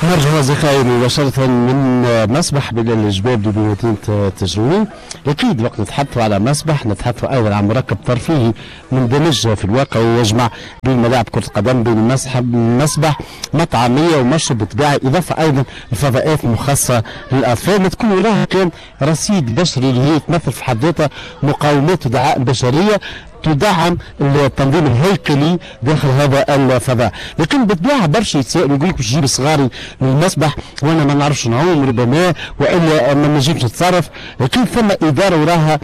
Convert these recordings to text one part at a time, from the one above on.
نرجع أصدقائي مباشرة من مسبح بلال الجبابلي بمدينة تجروين. أكيد وقت نتحدث على مسبح نتحدث أيضا عن مركب ترفيهي مندمج في الواقع ويجمع بين ملاعب كرة القدم، بين مسبح، مطعمية ومشرب بالطبيعة، إضافة أيضا لفضاءات مخصصة للأطفال ما تكون وراها كان رصيد بشري اللي هي تمثل في حد ذاتها مقاومات ودعائم بشرية تدعم التنظيم الهيكلي داخل هذا الفضاء. لكن بالطبيعة برشا يتسائلوا يقول لك باش نجيب صغاري للمسبح وانا ما نعرفش نعوم ربما والا ما نجمش نتصرف، لكن ثم ادارة وراها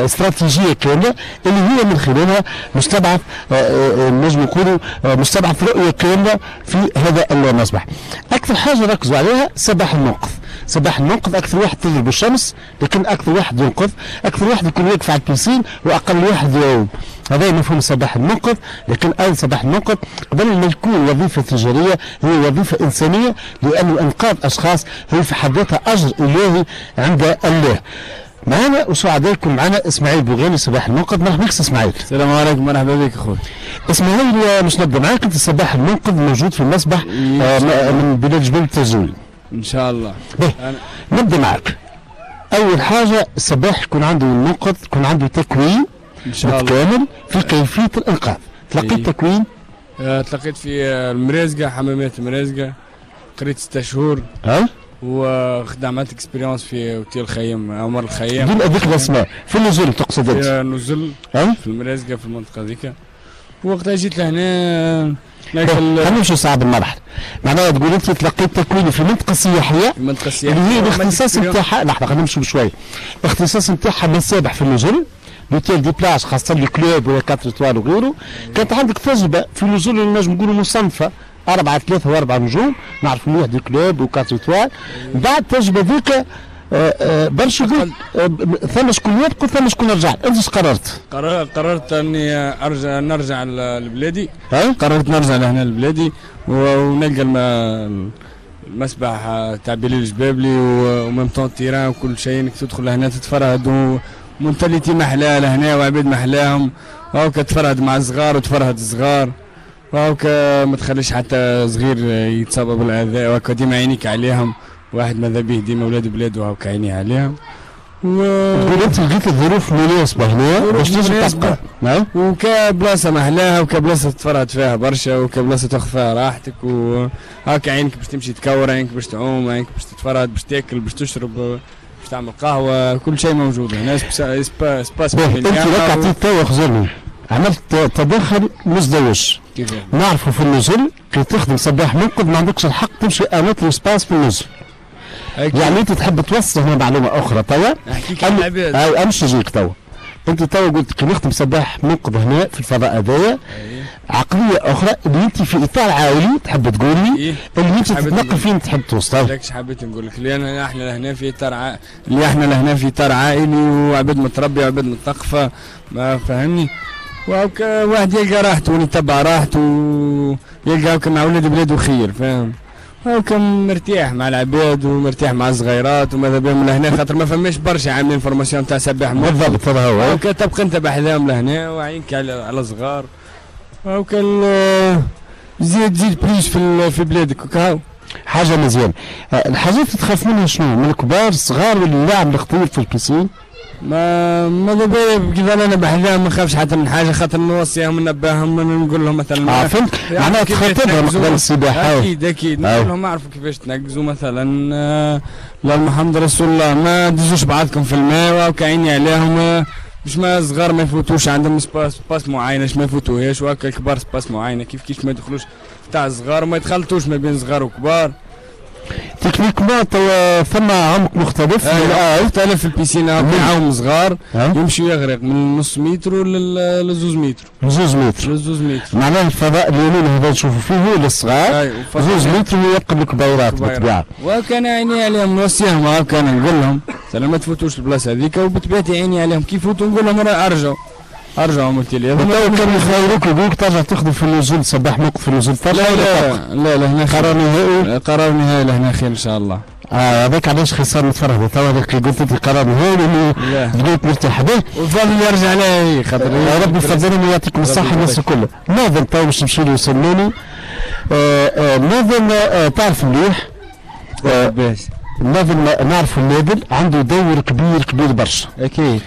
استراتيجية كاملة اللي هي من خلالها مش تبعث نجم نقولوا مش تبعث رؤية كاملة في هذا المسبح. اكثر حاجة ركزوا عليها سباح المنقذ. سباح المنقذ اكثر واحد تضرب الشمس، لكن اكثر واحد ينقذ، اكثر واحد يكون واقف على ال piscine واقل واحد يعوم. هذا مفهوم سباح المنقذ. لكن ايضا سباح المنقذ قبل ما يكون وظيفة تجارية هي وظيفة انسانيه، لانه انقاذ اشخاص هي في حد ذاتها اجر الهي عند الله. معنا وسعداء يكون معنا اسماعيل بوغاني سباح المنقذ. مرحبا بك اسماعيل. السلام عليكم، مرحبا بك اخوي اسماعيل. مش نبدا معاك، انت سباح المنقذ موجود في المسبح من بلاد جبل التجوين ان شاء الله. نبدا معك. اول حاجة السباح يكون عنده المنقذ يكون عنده تكوين ان شاء الله متكامل في كيفية الانقاذ. تلقيت تكوين؟ تلقيت في المرازقه، حمامات المرازقه، قريت 6 شهور. وخدمت expérience في اوتيل خيام عمر الخيام. دون ذكر الاسماء، في النزل تقصد انت؟ في النزل في المرازقه في المنطقة ذيك. وقتها جيت لهنا. خلينا نمشيو صعب المرحلة، معناها تقول انت تلقيت تكوين في المنطقة السياحية، المنطقة السياحية اللي هي الاختصاص نتاعها، لحظة خلينا نمشيو بشوية، الاختصاص نتاعها مسابح في النزل، l'hôtel des plages خاصة les clubs ولا 4 étoiles وغيره. كانت عندك تجربه في نزول اللي نجم نقولوا مصنفه 4 3 و4 نجوم، نعرف مليح des clubs و 4 étoiles. بعد التجربة ذيك برشا يقول ثم شكون يبقى ثم شكون رجع، انت اش قررت؟ قررت اني ارجع، نرجع لبلادي. قررت نرجع لهنا لبلادي ونلقى المسبح تاع بلال الجبابلي و même temps terrain وكل شيء، انك تدخل لهنا تتفرهد و mentalité محلاها لهنا وعباد محلاهم، وهاكا تفرهد مع الصغار وتفرهد الصغار، وهاكا ما تخليش حتى صغير يتصاب بالاذى، وهاكا ديما عينيك عليهم، واحد ماذا به ديما ولاد بلاده وهاكا عينيه عليهم. تقول انت لقيت الظروف مناسبة هنا باش تنجم تبقى. نعم. وكبلاصه محلاها وكبلاصه تفرهد فيها برشا وكبلاصه تاخذ فيها راحتك، وهاكا عينك باش تمشي تكور، عينك باش تعوم، عينك باش تتفرهد، باش تاكل، باش تشرب، باش تعمل قهوة، كل شيء موجود هنا. espace. انت لك عطيت توا خزرني عملت تدخل مزدوج. نعرفوا في النزل كي تخدم سباح منقذ ما عندكش الحق تمشي un autre espace في النزل. يعني انت تحب توصل هنا معلومة اخرى توا. نحكيك على العباد. امشي نجيك توا. انت توا قلت كي نخدم سباح منقذ هنا في الفضاء هذايا عقلية اخرى اللي انت في اطار عائلي تحب تقول لي اللي انت تتنقل فين تحب توصل. لكش حبيت نقول لك اللي احنا لهنا في اطار اللي احنا لهنا في اطار عائلي وعباد متربيه وعباد متثقفه، ما فهمني، وهكا واحد يلقى راحته ويتبع راحته ويلقى هكا مع ولاد بلاده خير، فاهم؟ هاكا مرتاح مع العباد ومرتاح مع الصغيرات وماذا بهم لهنا، خاطر ما فماش برشا عاملين formation تاع سباح. بالضبط هذا هو. هاكا تبقى انت بحذاهم لهنا وعينك على صغار، هاكا زيد plus في بلادك وكاو حاجة مزيانه. الحاجات اللي تخاف منها شنو؟ من الكبار الصغار ولا اللاعب الخطير في ال piscine؟ ما ماذا بيا كيف انا بحذاهم ما نخافش حتى من حاجة، خاطر نوصيهم ننبههم نقول لهم مثلا. فهمت، معناها تخاطبهم قبل السباحة. اكيد اكيد، نقول لهم اعرفوا كيفاش تنقزوا مثلا، لا محمد رسول الله ما تدزوش بعضكم في الماء، وكعيني عليهم باش ما الصغار ما يفوتوش، عندهم espace معينة باش ما يفوتوهاش، وهكا الكبار espace معينة كيف كيف ما يدخلوش تاع الصغار وما يتخلطوش ما بين صغار وكبار. techniquement توا ثم عمق مختلف. مختلف في ال piscine، عوم صغار يمشي يغرق من نص متر لزوز متر. زوز متر. لزوز متر. معناها الفضاء اليمين هذا نشوفوا فيه هو للصغار، زوز متر ويبقى للكبيرات بالطبيعة. وكان عيني عليهم نوصيهم، وكان نقول لهم مثلا ما تفوتوش البلاصة هذيك، وبطبيعتي عيني عليهم كيف يفوتوا نقول لهم ارجعوا ارجعوا قلت لي. تو كان يخيروك يقولك ترجع تخدم في النزول صباح موقف في النزول ترجع؟ لا لا لا، لهنا قرار نهائي. قرار نهائي لهنا خير ان شاء الله. هذاك علاش خسر نتفرهد توا، هذاك قلت انت قرار هايل انه بديت مرتاح به. والفضل يرجع عليه خاطر يا ربي يفضلهم ويعطيكم الصحة الناس الكل. ناظم تو باش نمشي له سلماني. ناظم تعرف مليح ناظم، نعرفوا النادل عنده دور كبير كبير برشا. اكيد.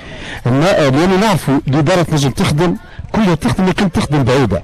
لانه نعرفوا الادارة تنجم تخدم كلها تخدم، لكن تخدم بعيده.